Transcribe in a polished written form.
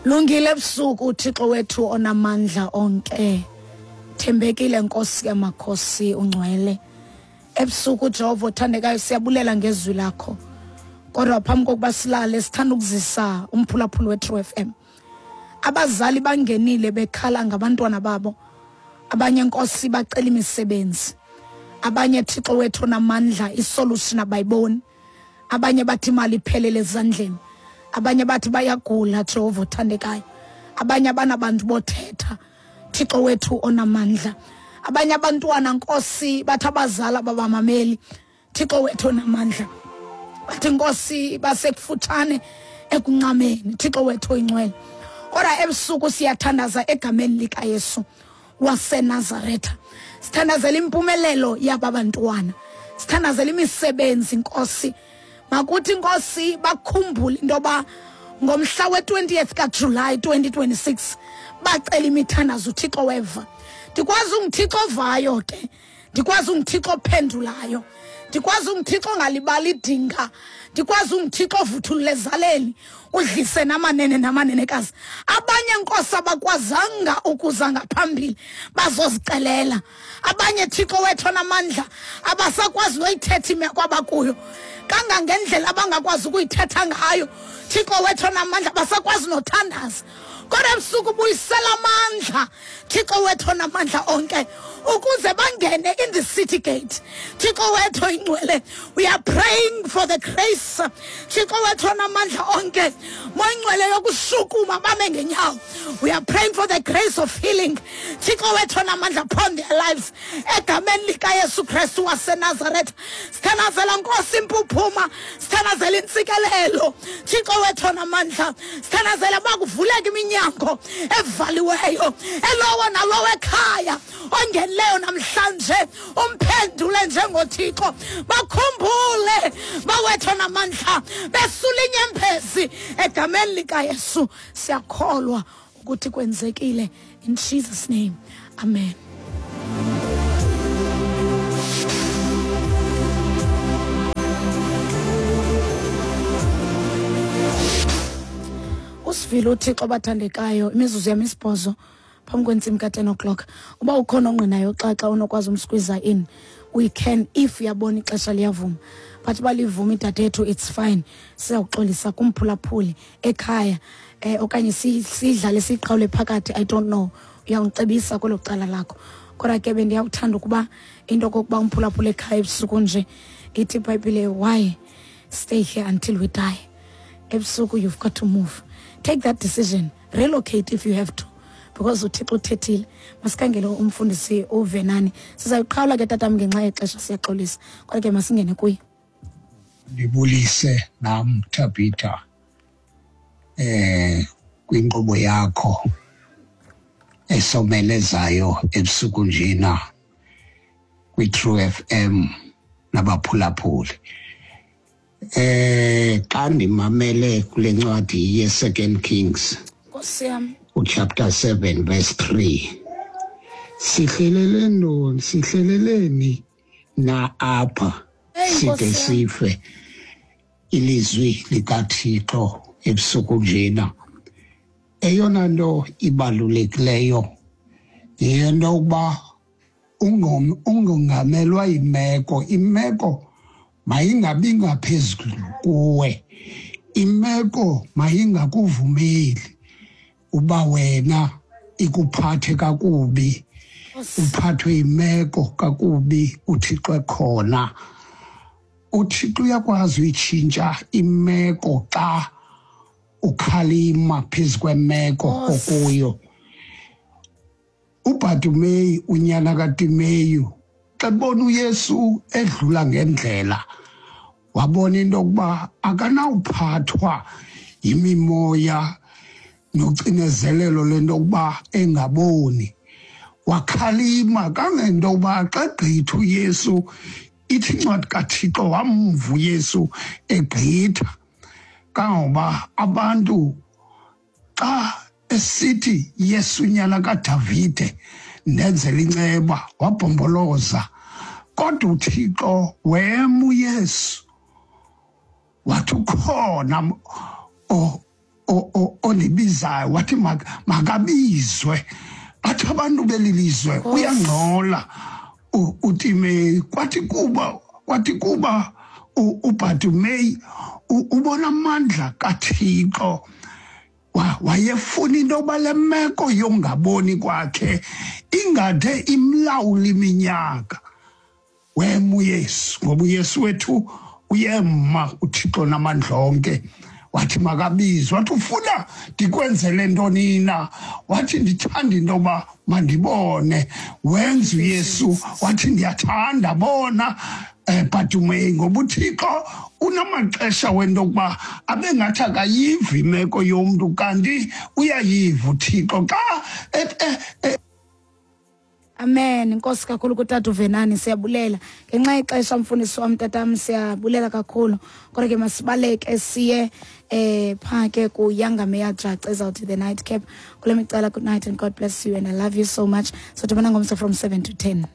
Lungile ebusuku uThixo wethu onamandla onke. Thembekile Nkosi yamakhosi ungcwele. Ebusuku Jehova othandekayo siyabulela ngezwi lakho. Kodwa phambi kokuba silale sithanda ukuzisa umphulaphuli weTrue FM. Abazali bangenile bekhala ngabantwana babo. Abanye Nkosi bacela imisebenzi. Abanye Thixo wethu onamandla isolution abayiboni. Abanye bathi imali iphelele ezandleni. Abanye bathi bayagula Jehova othandekayo. Abanye abanabantu bothetha. Thixo wethu onamandla. Abanye abantwana Nkosi bathi abazali ababamameli. Thixo wethu onamandla. Bathi Nkosi basekufutshane ekuncameni. Thixo wethu oyingcwele. Kodwa ebusuku siyathandaza egameni likaYesu waseNazaretha. Sithandazela impumelelo yaba bantwana. Sithandazela imisebenzi Nkosi. Makuthi Nkosi bakhumbule into yoba ngomhla we-20th kaJulayi 2026 bacela imithandazo uThixo weva. Ndikwazi unguThixo ovayo ke. Ndikwazi unguThixo ophendulayo. Ndikwazi unguThixo ongalibali idinga. Ndikwazi unguThixo ovuthulula ezaleni udlise namanene namanenekazi. Abanye Nkosi abakwazanga ukuza ngaphambili bazozicelela. Abanye Thixo wethu onamandla abasakwazi noyithetha imeko abakuyo. Kangangendlela abangakwazi ukuyithetha ngayo. Thixo wethu onamandla basakwazi nothandaza. Kodwa ebusuku buyisela amandla Thixo wethu onamandla onke ukuze bangene in the city gate. Thixo wethu oyingcwele, we are praying for the grace. Thixo wethu onamandla onke, moyingcwele yokushukuma bame ngenyawo. We are praying for the grace of healing. Thixo wethu onamandla upon their lives. Egameni likaYesu Kristu waseNazaretha. Sithandazela Nkosi impuphuma, sithandazela intsikelelo. Thixo wethu onamandla, sithandazela uba kuvuleke iminyango evaliweyo. Elowo nalowo ekhaya ongenileyo namhlanje umphendule njengoThixo. Bakhumbule bawethu onamandla, besula inyembezi egameni likaYesu. Siyakholwa ukuthi kwenzekile in Jesus name. Amen. Usivile uThixo bathandekayo imizuzu yam isibhozo phambi kwentsimbi ka-10 o'clock. Uba ukhona ongqinayo xa xa unokwazi umsqueeza in, we can if uyabona ixesha liyavuma. But uba livuma idadethu it's fine. Sizawuxolisa kumphulaphuli ekhaya okanye sidlale siyiqhawule phakathi, I don't know. Uyawucebisa kwelo cala lakho. Kodwa ke bendiyawuthanda ukuba into okokuba umphulaphuli ekhaya ebusuku nje ithi iBhayibhile, why stay here until we die? Ebusuku you've got to move. Take that decision. Relocate if you have to. Because uThixo uthethile. Masikhangele umfundisi uVenani. Sizayiqhawula ke tatam ngenxa yexesha, siyaxolisa. Kodwa ke masingene kuye. Ndibulise nam Tabitha kwinkqubo yakho esomelezayo ebusuku njena kwi-True FM nabaphulaphuli. Xa ndimamele kule ncwadi ye-Second Kings, Nkosi yam. uchapter 7 verse 3, sihlelele ntoni, sihleleleni na apha Hey, side Nkosi yam. sife? Ilizwi likaThixo ebusuku njena, eyona nto ibalulekileyo yento yokuba ungongamelwa yimeko. Imeko mayingabi ngaphezulu kuwe, imeko mayingakuvumeli uba wena ikuphathe kakubi, uphathwe yimeko kakubi uThixo ekhona. uThixo uyakwazi uyitshintsha imeko xa ukhalima phezu kwemeko okuyo. uBhartimeyu unyana kaTimeyu xa ebona uYesu edlula ngendlela, wabona into yokuba akanawuphathwa yimimoya nocinezelelo lento yokuba engaboni. Wakhalima kangento yokuba xa egqitha uYesu, ithi incwadi kaThixo wamva uYesu egqitha, kangangoba abantu xa esithi Yesu nyana kaDavide ndenzela inceba, wabhomboloza. Kodwa uThixo wema uYesu wathi ukhona Ondibizayo wathi makabizwe, bathi abantu beli lizwe uyangcola uTimeyi. Kwathi kuba uBartimeyi ubona amandla kaThixo, wayefuna into yoba le meko yongaboni kwakhe ingade imlawule iminyaka. Wema uYesu, ngoba uYesu wethu uyema, uThixo namandla onke. Wathi makabizwe, wathi, "Ufuna ndikwenzele ntoni na?" Wathi, "Ndithanda into yoba mandibone." Wenza uYesu wathi, "Ndiyathanda, bona." Bartimeyu, ngoba uThixo unamaxesha wento yokuba abe ngathi akayiva imeko yomntu, kanti uyayiva uThixo xa Amen. Inkosi kakhulu kutata uVenani, siyabulela. Ngenxa yexesha, mfundisi wam, tatam, siyabulela kakhulu. Kodwa ke masibaleke siye phaa ke kuYanga Jaca ezawuthi The Night Cap. Kule micala, good night and God bless you and I love you so much. So dibana ngomso from 7 to 10.